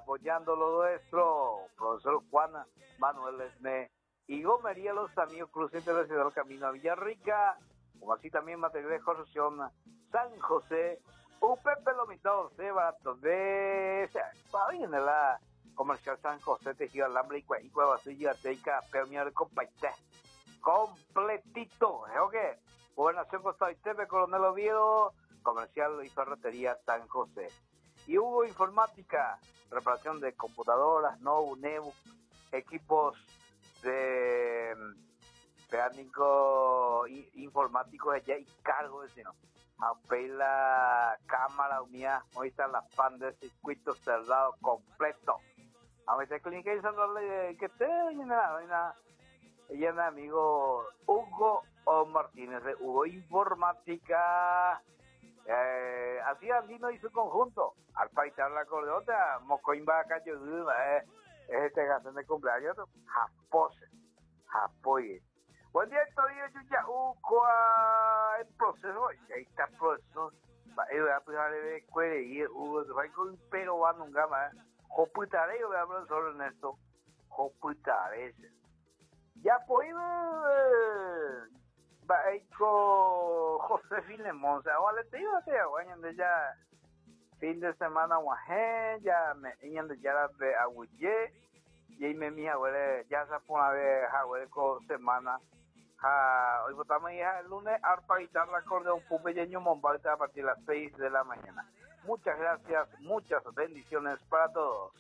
Apoyando lo nuestro, profesor Juan Manuel Esme y Gomería Los Amigos Cruz Internacional Camino a Villarrica, como así también material de construcción San José, UPP lo mitad, C barato de la comercial San José, tejido alambre y cueva, y compaite. Completito, ¿eh? ¿ok? Gobernación Costa de Coronel Oviedo, comercial y ferretería San José. Y Hugo Informática, reparación de computadoras, no, Nebu, equipos de mecánico informático de y cargo de sino. A la cámara mía, hoy está la pan de circuito cerrado completo. A veces clínica y que te ella amigo Hugo o Martínez de Hugo Informática. Así Andino y su conjunto. Al paitar la acordeota, Mocoimba eh, este gasto de cumpleaños, Japose, Japoye. Buen día, todavía yo ya el proceso, y ahí está el proceso. Pero va nunca más. Joputare, yo voy a hablar solo Ernesto. Joputare. Ya podido con José Filemón, o sea, vale, te digo, te de ya fin de semana ya me ya de aguye y me mi abuela ya se pone a ver abuela con semana. Ja, hoy votamos hija el lunes arpa guitarra acordeón pupeño Mombalta a partir de las 6 de la mañana. Muchas gracias, muchas bendiciones para todos.